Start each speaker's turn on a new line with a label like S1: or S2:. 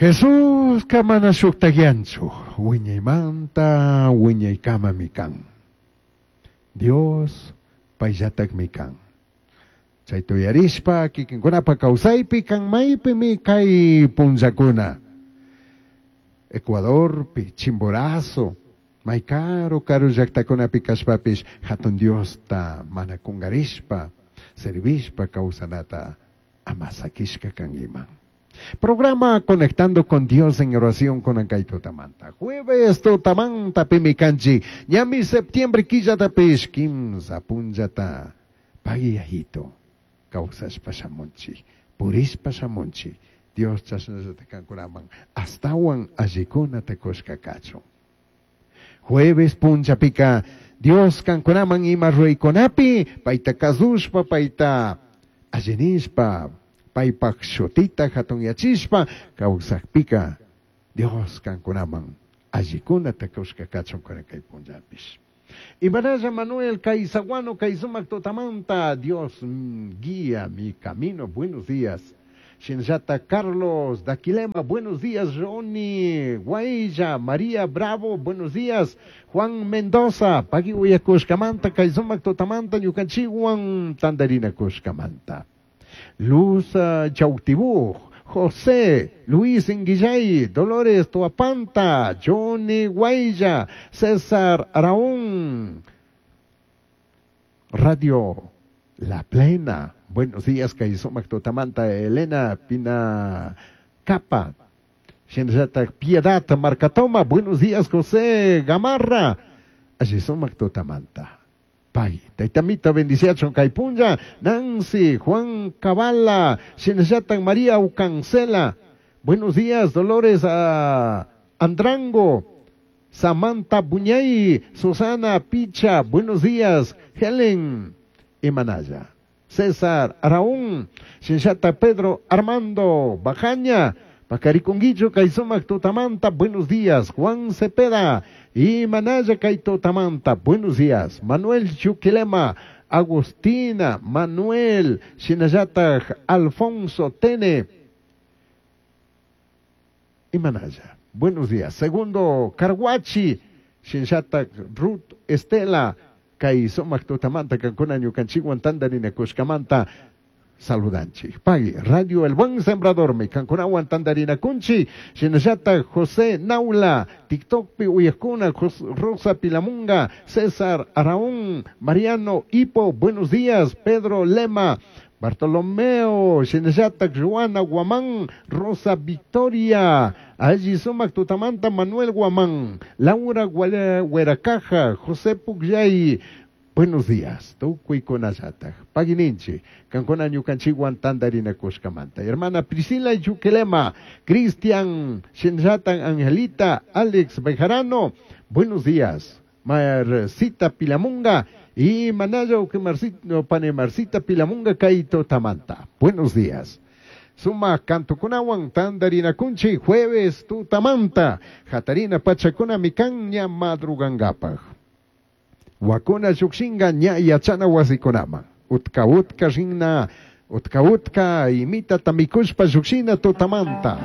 S1: Jesusca mana shujtajyanchu, wiñaymanta wiñaykamami kan. Dios payllatakmi kan. Chayta uyarishpa kikinkunapa kawsaypi kan maypimi kay punllakuna. Ecuadorpi, Chimborazo, may karu karu llaktakunapi kashpapish hatun Diosta mana kungarishpa, servishpa kawsanata ama sakishka kankiman. Programa Conectando con Dios en oración con kay tutamanta. Jueves tutamanta pimi kanchik. Ñami septiembre killatapish kimsa punllata pagui yayito. Kawsashpa shamunchik. Purishpa shamunchik. Dios chashnallata kankunaman astawan allikunata kushka kachun. Jueves punllapika Dios kankunaman ima ruraykunapi payta kasushpa payta allinishpa paypaj shutita hatunyachishpa kawsakpika Dios kankunaman allikunata kushka kachun kay punllapish. Imanalla Manuel Caizaguano Caizumac Totamanta, Dios guía mi camino, buenos días. Shinjata Carlos Daquilema, buenos días. Ronnie Guailla, María Bravo, buenos días. Juan Mendoza, Pagui Uyakushkamanta, Caizumac Totamanta, Ñukanchiwan, Tandarina Kushkamanta. Luz Chautibú, José Luis Inguillay, Dolores Tuapanta, Johnny Guaya, César Araún, Radio La Plena. Buenos días, Caizumac Totamanta, Elena Pina Capa, Shinjata Piedad Marcatoma, buenos días, José Gamarra, Allisumac Totamanta. Pay, Taitamita bendiciachon Caipunja, Nancy, Juan Cabala, Shinjatan María Ucancela. Buenos días, Dolores Andrango, Samantha Buñay, Susana Picha, buenos días, Helen Imanaya, César Araún, Shinjata Pedro Armando Bajaña, Pacariconguillo, Caizumac Totamanta, buenos días, Juan Cepeda, y Manaya Kaito Tamanta, buenos días, Manuel Chuquilema, Agustina, Manuel, Shinayata, Alfonso Tene, y Manaya, buenos días, Segundo Carguachi, Shinshata, Ruth Estela, Kaizumac Totamanta, Cancuna, Ñucanchiguan, Tandarina, Cushcamanta, saludanchi. Pagui, Radio El Buen Sembrador, mi Cancunawan Tandarina Kunchi, Shinashata José Naula, TikTok Pi Uyescuna, Rosa Pilamunga, César Araún, Mariano Hipo, buenos días, Pedro Lema, Bartolomeo, Shinashata Joana Guamán, Rosa Victoria, Allí Sumac Tutamanta, Manuel Guamán, Laura Hueracaja, José Pugyay, buenos días, tukuy kunallataj. Paguininchi, kankuna ñukanchikwan tandarina kushkamanta. Hermana Priscila Yuquelema, Cristian Shinjatan Angelita, Alex Bejarano, buenos días. Marcita Pilamunga y Manayo que Marcita, pane Marcita Pilamunga Kaito Tamanta. Buenos días. Suma kantukunawan tandarina kunchi jueves tutamanta. Jatarina pachakuna mikan ña madrugangapaj. Wakuna llukshinga ña yachana wasikunaman. Utka utka rinna, utka utka imita tamikushpa llukshina tutamanta.